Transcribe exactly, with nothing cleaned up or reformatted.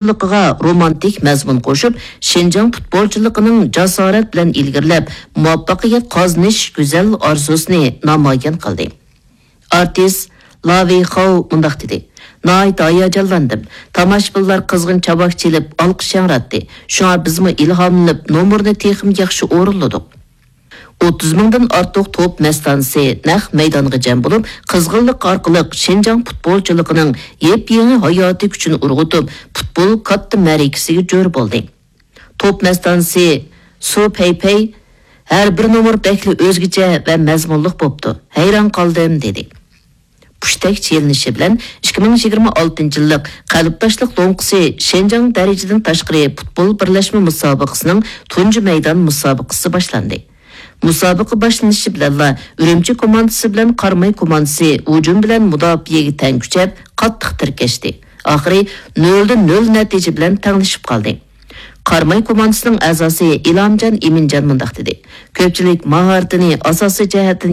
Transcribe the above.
پۇتبولچىلىقىغا رومانتىك مەزمۇن قوشۇپ، شىنجاڭ پۇتبولچىلىقىنىڭ جاسارەت بىلەن ئىلگىرىلەپ، مۇۋەپپەقىيەت قازىنىش گۈزەل ئارزۇسىنى نامايان قىلدى. ئارتىس لاۋېي خاۋ مۇنداق دېدى: «ناھايىتى ھاياجانلاندىم. تاماشىبىنلار قىزغىن چاۋاك چېلىپ، ئالقىش ياڭراتتى. شۇڭا بىزمۇ ئىلھاملىنىپ، نومۇرنى تېخىمۇ ياخشى ئورۇنلىدۇق.» ئوتتۇز مىڭدىن ئارتۇق توپ مەستانىسى نەق مەيدانغا جەم بولۇپ، قىزغىنلىق ئارقىلىق شىنجاڭ پۇتبولچىلىقىنىڭ يېپيېڭى ھاياتىي كۈچىنى ئۇرغۇتۇپ، پۇتبول كاتتا مەرىكىسىگە جور بولدى. توپ مەستانىسى سۇ پەيپەي: «ھەر بىر نومۇر بەكلا ئۆزگىچە ۋە مەزمۇنلۇق بوپتۇ. ھەيران قالدىم» دېدى. پۇشتەك چېلىنىشى بىلەن ئىككى مىڭ يىگىرمە ئالتىنچى يىللىق قەلبداشلىق لوڭقىسى شىنجاڭ دەرىجىدىن تاشقىرى پۇتبول بىرلەشمە مۇسابىقىسىنىڭ تۇنجى مەيدان مۇسابىقىسى باشلاندى. مۇسابىقە باشلىنىشى بىلەنلا ئۈرۈمچى كوماندىسى بىلەن قاراماي كوماندىسى ھۇجۇم بىلەن مۇداپىئەگە تەڭ كۈچەپ، قاتتىق تىركەشتى. ئاخىرى نۆلدە نۆل نەتىجە بىلەن تەڭلىشىپ قالدى. قاراماي كوماندىسىنىڭ ئەزاسى ئىلھامجان ئىمىنجان مۇنداق دېدى: «كۆپچىلىك ماھارىتىنى ئاساسىي جەھەتتىن